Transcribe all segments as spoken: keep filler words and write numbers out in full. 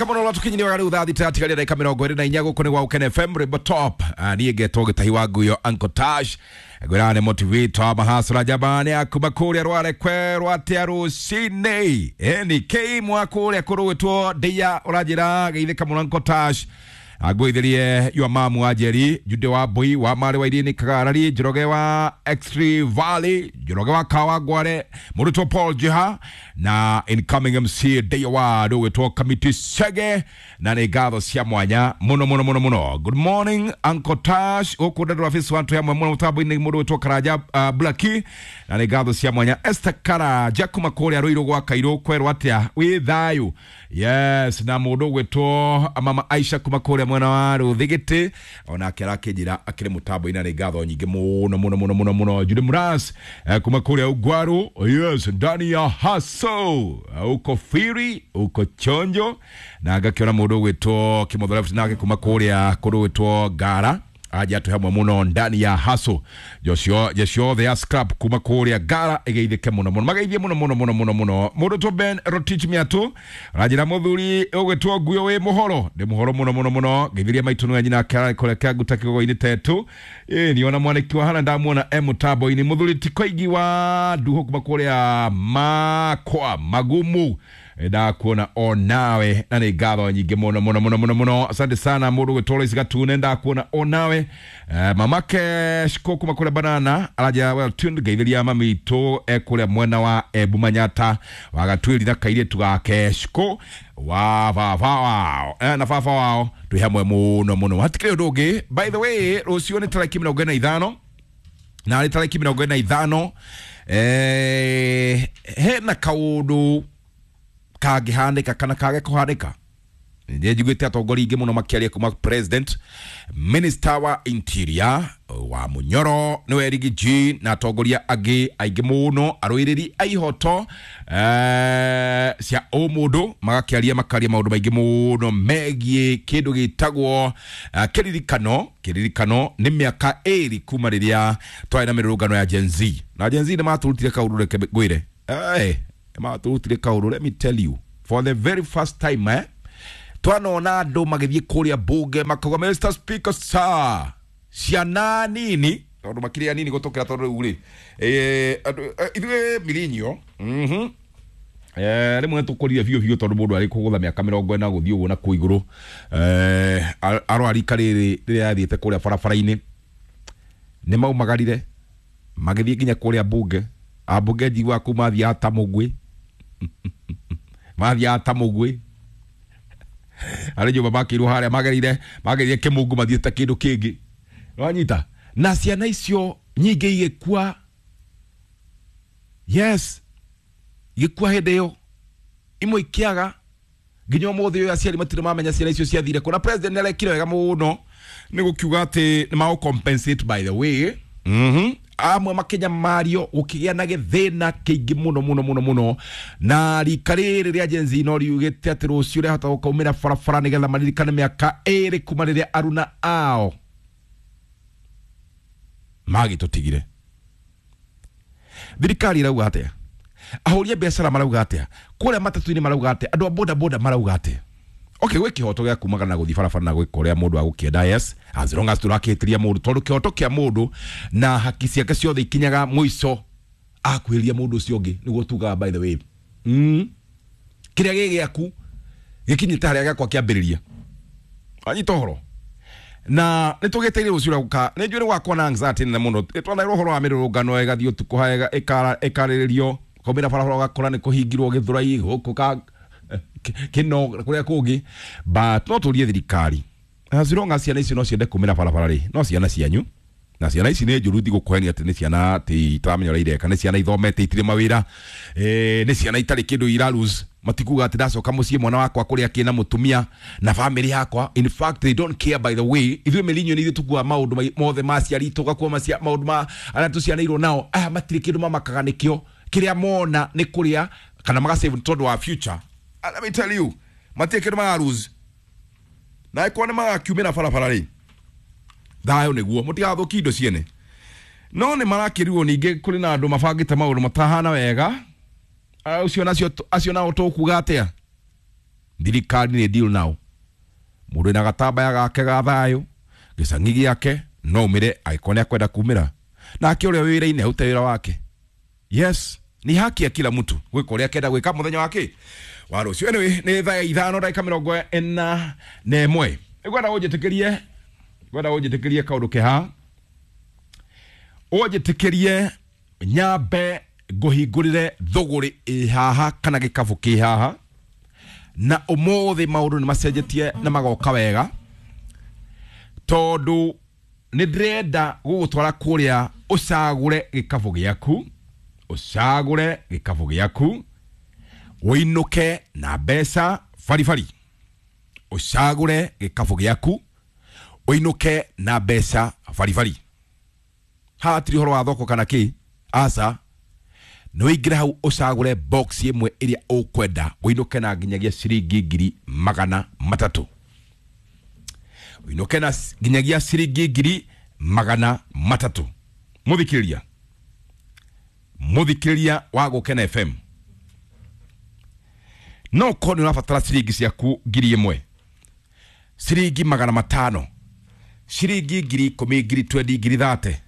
Kama no tukinyire wa riu thaa thita atigaria ndagika mirongo iri na inya guku ni gwa Ukene F M Rwimbo Top. Ah, niĩ ngetwo Gĩtahi wa Nguyo Uncle Tash ngwĩraga nĩ motivator mahasura jamani akuma kũrĩa rwarekwe rwatia rũcinĩ ĩni K mwa kũrĩa kũrũgĩtwo ndeia ũranjĩra geithĩka mũno Uncle Tash angwĩthirie yua mamu wa Njeri Jude wa Mbui wa Marĩ wa Irini Kagarari Njoroge wa X-Ray Valley Njoroge wa Kawa Ngware mũrutwo Paul Jiha na incoming M C Day Award ũgĩtwo Kamiti Chege na nĩ ngatho cia mwanya mũno mũno mũno mũno. Good morning Uncle Tash gũkũ Ndendwa office wa twĩ hamwe mũno mũtambo-inĩ mũndũ ũgĩtwo Karanja uh, Blackie na nĩ ngatho cia mwanya Esther Karanja kuma kũrĩa Rũirũ gwa Kairũ kwerwo atĩa wĩ thayũ. Yes, na mũndũ ũgwĩtwo Mama Aisha kuma kũrĩa mwena wa Rũthigĩtĩ onake arakĩnjĩra akĩrĩ mũtambo-inĩ na nĩ ngatho nyingĩ mũno mũno mũno mũno mũno. Jude Muras eh, kuma kũrĩa Ugwaru, yes, ndani ya haso uko firi uko chonjo na ngakĩona mũndũ ũgwĩtwo Kĩmotho Left nake kuma kũrĩa kũndũ gwĩtwo Ngara aja atũ hamwe mũno ndani ya haso Joshua Joshua the scrap kuma kũrĩa Ngara ĩgeithĩke mũno mũno mageithie mũno mũno mũno mũno mũno. Mũndũ to Ben Rotich Miatu ranjĩra mũthuri ũgwĩtwo Nguyo wĩ mũhoro ndĩ mũhoro mũno mũno mũno ngeithirie maitũ nĩwe nyina kũrĩa kĩanguta kĩgogo-inĩ tetu ĩ niona mwanĩki wa hana ndamuona e mũtambo-inĩ mũthuri ti Koigi wa Nduho kuma kũrĩa Makwa Magumu ndakuona onawe na nĩ ngatho nyingĩ mũno mũno mũno mũno mũno. Asante sana mũndũ ũgwĩtwo Lois Gatune ndakuona onawe. Uh, mamake Shiko kuma kũrĩa Banana araja well tuned ngeithiria mami itũ e kũrĩa mwena wa Embu Manyata wa Gatwĩri na kairĩtu gake Shiko wa baba wao eh, na baba wao twĩ hamwe mũno mũno hatikĩrĩ ũndũ ũngĩ. By the way rũciũ nĩ tarĩki mĩrongo ĩna na ithano na nĩ tarĩki mĩrongo ĩna na ithano eh, hena kaũndũ kangĩhanĩka kana kage kũhanĩka. Nĩ njiguĩte atongoria aingĩ mũno makĩaria kuma president minister wa interior wa Munyoro nĩwe Riggy G na atongoria angĩ aingĩ mũno arũĩrĩri a ihoto eh, cia ũmũndũ magakĩaria makaria maũndũ maingĩ mũno megiĩ kĩndũ gĩtagwo uh, kĩririkano kĩririkano nĩ mĩaka ĩrĩ kuma rĩrĩa twarĩ na mĩrũrũngano ya Gen Z na Gen Z nĩ matũrutire kaũndũ reke ngwĩre eh matũrutire kaũndũ let me tell you for the very first time eh twanona andũ magĩthiĩ kũrĩa bunge makauga Mister Speaker sir ciana nini tondũ makĩrĩ anini gũtũkĩra tondũ rĩu rĩ eh ithuĩ mirinyo mhm eh rĩmwe tũkũrire biũ biũ tondũ mũndũ arĩ kũgũtha mĩaka mĩrongo ĩna gũthiĩ ũguo na kũu igũrũ eh arwarika rĩrĩ rĩrĩa yathiĩte kũrĩa barabara-inĩ nĩ maumagarire magĩthiĩ nginya kũrĩa bunge ambunge njiguaga kũu mathiaga ta mũgwĩ mathiaga ta mũgwĩ arĩ nyũmba makĩirwo harĩa magerire magerire kĩmungu mathiĩte kĩndũ kĩngĩ wanyita na ciana icio nyingĩ igĩkua yes igĩkua hĩndĩ ĩyo imwe ikĩaga nginya ũmũthĩ ũyũ aciari matirĩ mamenya ciana icio ciathire kũ na president nĩ arekire wega mũno nĩ gũkiuga atĩ nĩ magũ compensate by the way mhm amwe makĩnyamario gũkĩgĩa na gĩthĩna kĩingĩ mũno mũno mũno mũno na rika rĩrĩ rĩa Gen Z no riugĩte atĩ rũciũ rĩahota gũkaumĩra barabara nĩgetha maririkane mĩaka ĩrĩ kuma rĩrĩa aruna ao magĩtũtigire. Thirikari ĩrauga atĩa? Ahũri a biacara marauga atĩa? Kũrĩa matatũ-inĩ marauga atĩa? Andũ a boda boda marauga atĩa? Okay, gwĩ kĩhoto gĩa kumagara na gũthiĩ barabara na gwĩka ũrĩa mũndũ agũkĩenda yes as long as tũrakĩhĩtĩria mũndũ tondũ kĩhoto kĩa mũndũ na haki ciake ciothe ikinyaga mũico akuhĩrĩria mũndũ ũcio ũngĩ nĩguo tugaga by the way mm. kĩrĩa gĩ gĩaku gĩkinyĩte harĩa gĩakwa kĩambĩrĩria anyita ũhoro na nĩ tũgĩteire rũciũ rwa gũka nĩ njũĩ nĩ gwakwa na anxiety nene mũno twanairwo ũhoro wa mĩrũrũngano ĩgathiĩ ũtukũ haega ĩkarĩrĩrio kaumĩra barabara ũgakora nĩ kũhingirwo Gĩthũrai gũkũ ka kino kuria kungi but no turie thirikari as long as ciana icio no ciende kumĩra barabara rĩ no ciana cianyu na ciana ici nĩ njũru ndigũkũhenia atĩ nĩ ciana atĩ itaramenya ũrĩa ireka nĩ ciana ithomete itirĩ mawĩra eh, nĩ ciana itarĩ kĩndũ ira lose matikuga atĩ ndacoka mũciĩ mwana wakwa kũrĩa kĩna mũtumia na family yakwa in fact they don't care by the way ithuĩ mĩrinyo nĩ ithuĩ tũkuaga maũndũ mothe ma aciari tũgakua maũndũ ma arĩa tũcianĩirwo nao aya matirĩ kĩndũ mamakaga nĩkĩo kĩrĩa mona nĩ kũrĩa kana magasave tondũ wa future. Let me tell you matirĩ kĩndũ maga lose na ĩkorwo nĩ magakiumĩra barabara rĩ thayũ nĩguo mũtigathũkie indo ciene no nĩ marakĩrirwo ningĩ kũrĩ na andũ mabangĩte maũndũ matahana wega ũcio nacio acio nao tũkuga atĩa Thirikari nĩ deal nao. Mũndũ wĩna gatambaya gake ga thayũ gĩcang'i gĩake no umĩre angĩkorwo nĩ akwenda kumĩra, nake ũrĩa wĩ wĩra-inĩ arute wĩra wake. Yes, ni haki ya kila mtu gwĩka ũrĩa akenda gwĩka mũthenya wake wa rũciũ. Anyway, nĩ thaa ithano ndagĩka mĩrongo ĩna na ĩmwe. Ngwenda ũnjĩtĩkĩrie, ngwenda ũnjĩtĩkĩrie kaũndũ keha, ũnjĩtĩkĩrie nyambe ngũhingũrĩre thũgũrĩ ĩ haha kana gĩkabũ kĩ haha, na ũmũthĩ maũndũ nĩ macenjetie na magoka wega, tondũ nĩ ndĩrenda gũgũtwara kũrĩa ũcagũre gĩkabũ gĩaku, ũcagũre gĩkabũ gĩaku ũinũke na mbeca baribari. Ũcagũre gĩkabũ gĩaku ũinũke na mbeca baribari. Haha hatirĩ ũhoro wa thoko kana kĩ, aca, nĩ ũingĩre hau ũcagũre box ĩmwe ĩrĩa ũkwenda ũinũke na nginyagia ciringi ngiri magana matatũ, ũinũke na nginyagia ciringi ngiri magana matatũ. Mũthikĩrĩria, mũthikĩrĩria wa Gũkena F M, no ũkorwo nĩ ũrabatara ciringi ciaku ngiri ĩmwe, ciringi magana matano, ciringi ngiri ikũmi, ngiri twendi, ngiri thate,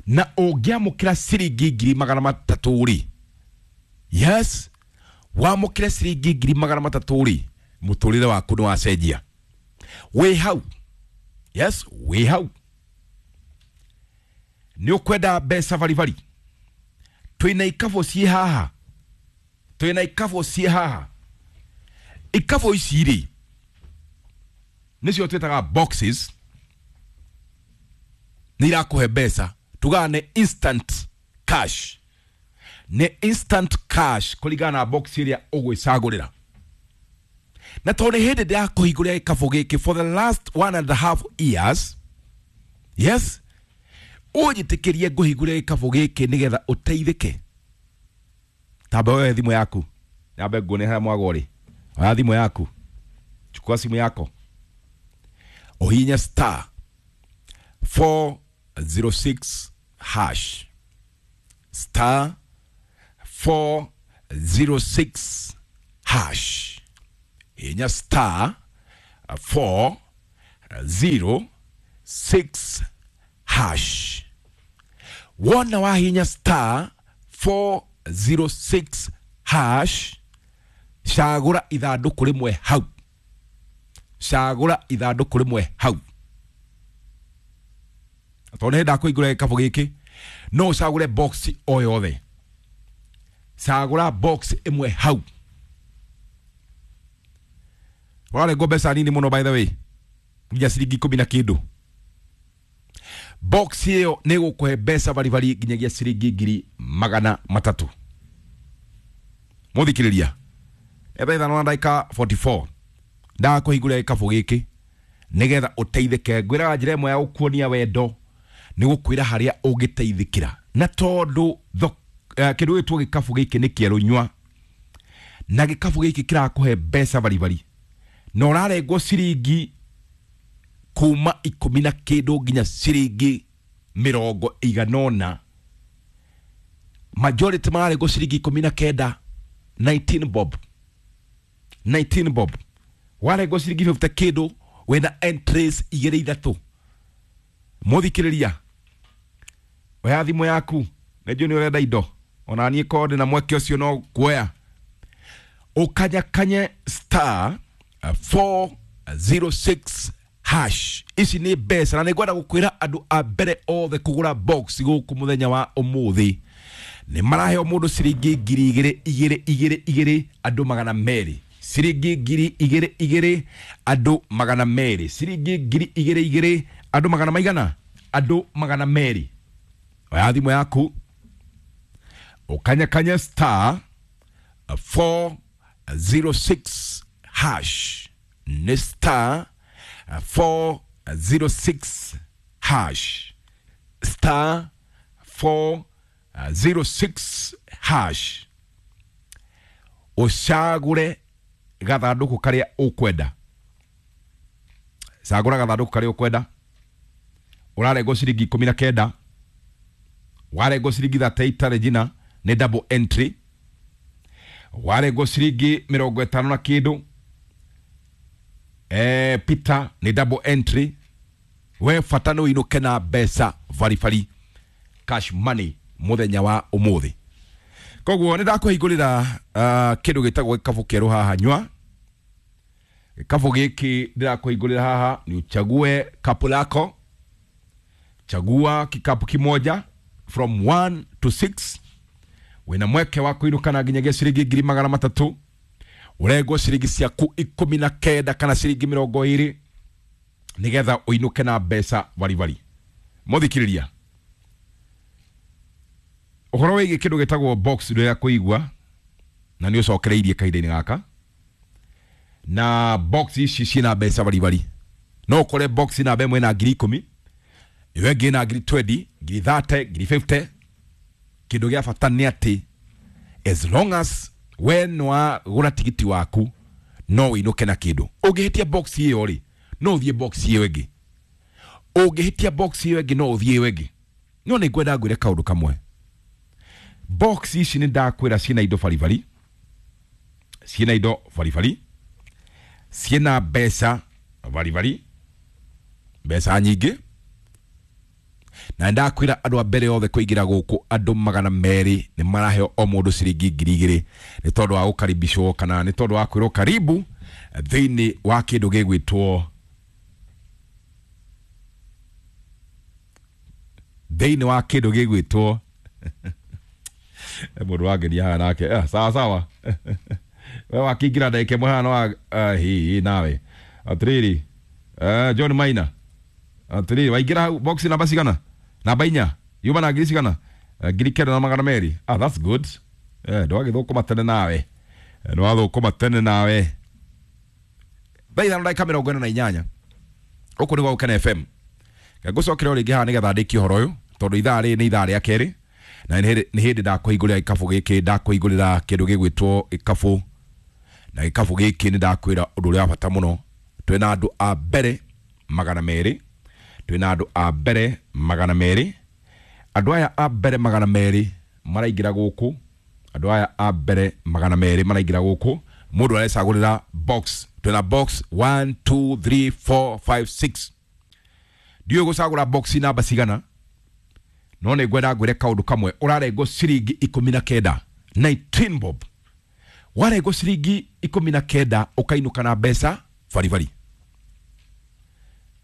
na ũngĩamũkĩra ciringi ngiri magana matatũ rĩ, yes, wamũkĩre ciringi ngiri magana matatũ rĩ, mũtũrĩre waku nĩ wacenjia. Wĩ hau, yes, wĩ hau nĩ ũkwenda mbeca baribari. Twĩna ikabũ ciĩ haha, twĩna ikabũ ciĩ haha. Ikabũ ici rĩ nĩcio twĩtaga boxes, nĩ irakũhe mbeca, tugaga nĩ instant cash, nĩ instant cash kũringana na box ĩrĩa ũgwĩcagũrĩra. Na tondũ nĩ hĩndĩ ndĩrakũhingũrĩra gĩkabũ gĩkĩ for the last one and a half years, yes, ũnjĩtĩkĩrie ngũhingũrĩre gĩkabũ gĩkĩ nĩgetha ũteithĩke. Tamba woe thimũ yaku, nyambe nguone harĩa mwago ũrĩ. Oya thimũ yaku, chukua simu yako, uhinye star four zero six hash, star four zero six hash, hinya star four zero six hash. Wona wahinya star four zero six hash, cagũra ithandũkũ rĩmwe hau, cagũra ithandũkũ rĩmwe hau. Tondũ nĩ ndakũhingũra gĩkabũ gĩkĩ, no ũcagũre box o yothe, cagũra box ĩmwe hau. Ũrarengwo mbeca nini mũno by the way, nginya ciringi ikũmi na kĩndũ. Box ĩyo nĩ ĩgũkũhe mbeca baribari nginyagia ciringi ngiri magana matatũ. Mũthikĩrĩria, etha ithano na ndagĩka forty four, ndakũhingũrĩra gĩkabũ gĩkĩ nĩgetha ũteithĩke. Ngwĩraga njĩra ĩmwe ya gũkuonia wendo nĩ gũkwĩra harĩa ũngĩteithĩkĩra, na tondũ kĩndũ gĩtwo gĩkabũ gĩkĩ nĩ kĩerũ nyua, na gĩkabũ gĩkĩ kĩrakũhe mbeca baribari, na ũrarengwo ciringi kuma ikũmi na kĩndũ nginya ciringi mĩrongo ĩigana ũna. Majority mararengwo ciringi ikũmi na kenda, nineteen bob, nineteen bob. Warengwo ciringi fifty kĩndũ, wĩna entries igĩrĩ ithatũ. Mũthikĩrĩria, oya thimũ yaku, nĩnjũĩ nĩ ũrenda indo, ona niĩ korwo ndĩna mweke ũcio no kuoya. Ũkanyakanye star four zero six hash. Ici nĩ mbeca, na nĩ ngwenda gũkwĩra andũ a mbere othe kũgũra box gũkũ mũthenya wa ũmũthĩ nĩ maraheo mũndũ ciringi ngiri igĩrĩ igĩrĩ igĩrĩ igĩrĩ, andũ magana merĩ, ciringi ngiri igĩrĩ igĩrĩ, andũ magana merĩ, ciringi ngiri igĩrĩ igĩrĩ, andũ magana maigana, andũ magana merĩ. Oya thimũ yaku, ũkanyakanye star four zero six hash, nĩ star four zero six hash, star four zero six hash. Ũcagũre gathandũkũ karĩa ũkwenda, cagũra gathandũkũ karĩa ũkwenda. Ũrarengwo ciringi ikũmi na kenda, warengwo ciringi thate itarĩ njina, nĩ double entry. Warengwo ciringi mĩrongo ĩtano na kĩndũ, eh, Peter nĩ double entry. We bata nĩ ũinũke na mbeca baribari, cash money mũthenya wa ũmũthĩ. Koguo nĩ ndakũhingũrĩra uh, kĩndũ gĩtagwo gĩkabũ kĩerũ haha. Nyua gĩkabũ gĩkĩ ndĩrakũhingũrĩra haha ni uchague kapu lako. Chagua kikapu kimoja from one to six. Wĩna mweke wa kũinũka na nginyagia ciringi ngiri magana matatũ. Ũrengwo ciringi ciaku ikũmi na kenda kana ciringi mĩrongo ĩrĩ nĩgetha ũinũke na mbeca baribari. Mũthikĩrĩria, ũhoro wĩgiĩ kĩndũ gĩtagwo box ndũrĩa kũigua na nĩ ũcokereirie kahinda-inĩ gaka, na box ici ciĩna mbeca baribari. No ũkore box namba ĩmwe ĩna ngiri ikũmi, ĩyo ĩngĩ ĩna ngiri twenty, ngiri thirty, ngiri fifty. Kĩndũ gĩa bata nĩ atĩ as long as we nĩwagũra tigiti waku no ũinũke na kĩndũ. Ũngĩhĩtia box ĩyo rĩ, no ũthiĩ box ĩyo ĩngĩ. Ũngĩhĩtia box ĩyo ĩngĩ no ũthiĩ ĩyo ĩngĩ. No nĩ ngwenda ngwĩre kaũndũ kamwe. Box ici nĩ ndakwĩra ciĩna indo baribari, ciĩna indo baribari, ciĩna mbeca baribari, mbeca nyingĩ. Na ndakwĩra andũ a mbere othe kũingĩra gũkũ andũ magana merĩ nĩ maraheo o mũndũ ciringi ngiri igĩrĩ nĩ tondũ wa gũkaribishwo kana nĩ tondũ wa kwĩrwo karibu thĩinĩ wa kĩndũ gĩgwĩtwo thĩinĩ wa kĩndũ gĩgwĩtwo mũndũ wangenia haha nake. Eh, sawa sawa. We wakĩingĩra ndagĩka ĩmwe haha no wa hi nawe atĩrĩrĩ. Eh, John Maina, atĩrĩrĩ, waingĩra hau box namba cigana? Namba inya. Yuma na ngiri cigana? Ngiri kenda na magana merĩ. Ah, that's good. Eh, ndwagĩthũkũma tene nawe, ndwathũkũma tene nawe. Thaa ithano ndagĩka mĩrongo ĩna na inyanya gũkũ nĩ gwa Gũkena F M. Ngũcokera o rĩngĩ haha nĩgetha ndĩkie ũhoro ũyũ tondũ ithaa rĩrĩ nĩ ithaa rĩa kerĩ na nĩ hĩndĩ ndakũhingũrĩra gĩkabũ gĩkĩ, ndakũhingũrĩra kĩndũ gĩgwĩtwo gĩkabũ, na gĩkabũ gĩkĩ nĩ ndakwĩra ũndũ ũrĩa wa bata mũno. Twĩna andũ a mbere magana merĩ, twĩna andũ a mbere magana merĩ. Andũ aya a mbere magana merĩ maraingĩra gũkũ, andũ aya a mbere magana merĩ maraingĩra gũkũ. Mũndũ arecagũrĩra box. Twĩna box one two three four five six. Ndiũĩ gũcagũra box namba cigana, no nĩ ngwenda ngwĩre kaũndũ kamwe. Ũrarengwo ciringi ikũmi na kenda, nineteen bob. Warengwo ciringi ikũmi na kenda ũkainũka na mbeca baribari.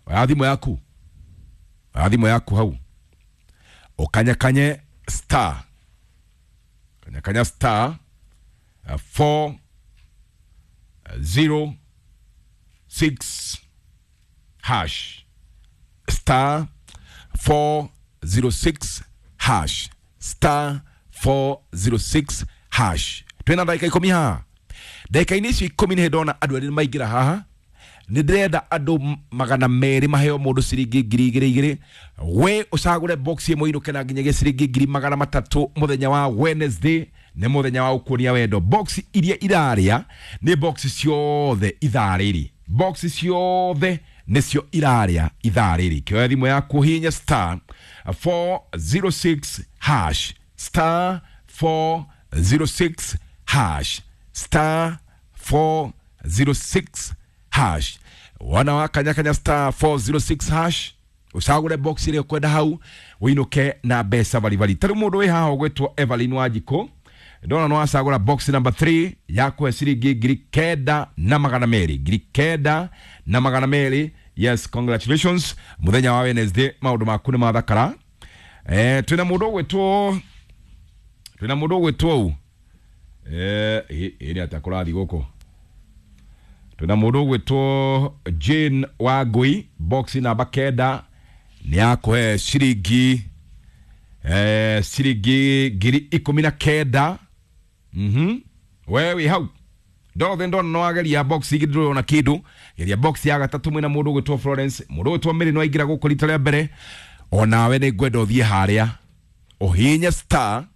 Oya thimũ yaku, oya thimũ yaku hau, ũkanyakanye star, kanyakanya star four zero six hash, star four zero six hash, star four zero six hash. Twĩna ndagĩka ikũmi haha. Ndagĩka-inĩ icio ikũmi nĩ ndona andũ erĩ maingĩra haha. Nĩ ndĩrenda andũ magana merĩ maheo mũndũ ciringi ngiri igĩrĩ igĩrĩ. We ũcagũre box ĩmwe ũinũke na nginyagia ciringi ngiri magana matatũ mũthenya wa Wednesday. Nĩ mũthenya wa ũkuonia wendo. Box iria irarĩa nĩ box ciothe ithaa rĩrĩ, box ciothe nĩcio irarĩa ithaa rĩrĩ. Kĩoya thimũ yaku hihinya star four zero six hash, star four zero six hash, star four zero six hash. Wana wa kanyakanya star four zero six hash, ucagũre box ĩrĩa ũkwenda hau ũinũke na mbeca baribari. Ta rĩu mũndũ wĩ haha ũgwĩtwo Evelyn Wanjikũ, ndona no acagũra box number three ya kũhe ciringi ngiri kenda na magana merĩ, ngiri kenda na magana merĩ. Yes, congratulations. Mũthenya wa Wednesday maũndũ maku nĩ mathakara. Eh, twĩna mũndũ ũgwĩtwo, twĩna mũndũ ũgwĩtwo ũ eh ĩ nĩ atĩa kũrathiĩ gũkũ. Twĩna mũndũ ũgwĩtwo Jane Wangui, box namba kenda nĩ yakũhe ciringi eh ciringi ngiri ikũmi na kenda. Mhm, we wĩ hau ndothe ndona no ageria box igĩrĩ ndũrona kĩndũ. Geria box ya gatatũ mwĩna mũndũ ũgwĩtwo Florence, mũndũ ũgwĩtwo Mary no aingĩra gũkũ rita rĩa mbere. Onawe nĩ ngwenda ũthiĩ harĩa ũhihinye star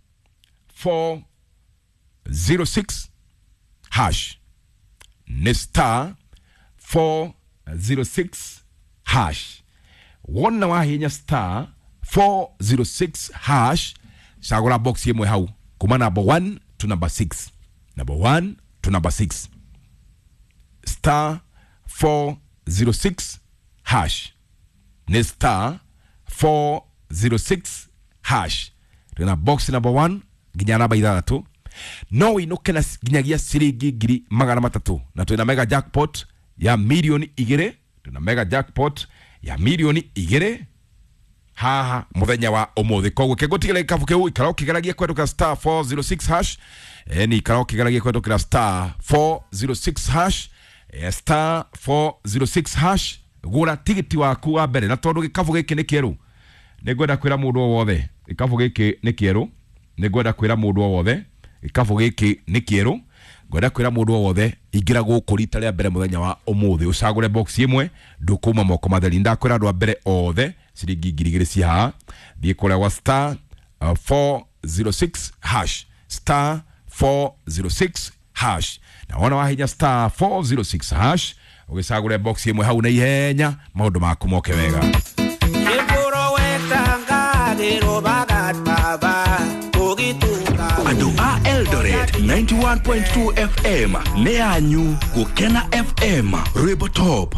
four zero six hash, nĩ star four zero six hash. Wona wahihinya star four zero six hash, cagũra box ĩmwe hau kuma number one to number six, number one to number six, star four zero six hash, nĩ star four zero six hash. Twĩna box number one nginya namba ithathatũ, no wĩinũke na nginyagia ciringi ngiri magana matatũ, na twĩna mega jackpot ya milioni igĩrĩ. Twĩna mega jackpot ya milioni igĩrĩ haha muthenya wa umuthi. Koguo kĩngũtigĩra gĩkabu kĩu, ikara ũkĩgeragia kũhetũkĩra star four zero six hash. eh, ni ikara ũkĩgeragia kũhetũkĩra star four zero six hash, eh, star four zero six hash, gũra tigiti waku wa mbere. Na tondũ gĩkabu gĩkĩ nĩ kĩerũ, nĩ ngwenda kwĩra mũndũ o wothe gĩkabu gĩkĩ nĩ kĩerũ. Nĩ ngwenda kwĩra mũndũ o wothe gĩkabu gĩkĩ nĩ kĩerũ. Ngwenda kwĩra mũndũ o wothe, ingĩra gũkũ rita rĩa mbere mũthenya wa ũmũthĩ, ũcagũre box ĩmwe, ndũkuma moko matheri. Ndakwĩra andũ a mbere othe ciringi ngiri igĩrĩ ci haha. Thiĩ kũrĩa gwa star uh, four zero six hash, star four zero six hash, na wona wahinya star four zero six hash ũgĩcagũre box ĩmwe hau na ihenya, maũndũ maku moke wega. Andũ a Eldoret, ninety-one point two F M nĩ yanyu. Gũkena F M, rwĩmbo top.